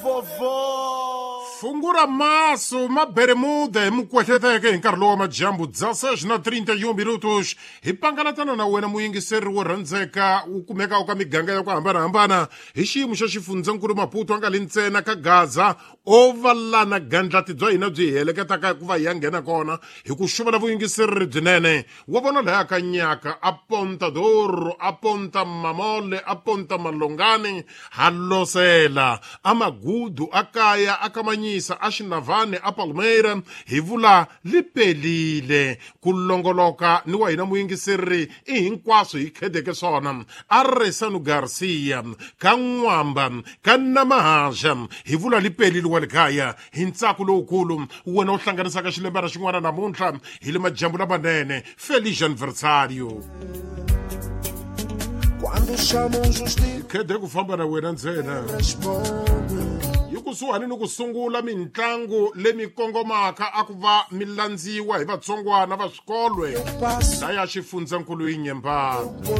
vovó. Fungura maso ma bermuda hi mukwehleteke hi nkarhi lowu wa madyambu 16 na 31 minutos hi pangalatana na wena muyingiseri wo rhandzeka wu kumekaka ka miganga ya ku hambanahambana hi xiyimo xa xifundzankulu Maputo a nga li ntsena ka Gaza o va lana gandlati bya hina byi hi heleketaka ku va hi ya nghena kona hi ku xuvela vuyingiseri byinene wa vona laya ka nyaka a Ponta Doro a Ponta Mamole a Ponta Malongani ha losela a Magudu a Kaya a Kamanyisa a Xinavane a Palmeira hi vula li pelile ku longoloka ni wa hina muyingiseri i hinkwaswo hi khedeke swona a Resano Garcia ka N'wamba ka Namahaja hi vula li pelile wa le kaya hi ntsako lowukulu wena u hlanganisaka xilembana xin'wana namuntlha hi le madyambu lamanene. Feliz aniversário. Quando chamam justiça, Khede ku famba na wena ntsena. Responde. Yi kusuhani ni ku sungula mitlangu leyi kongomaka a ku va mi landziwa hi vatsongwana va swikolwe Passo laya xifundzankulu yi nyemba. Por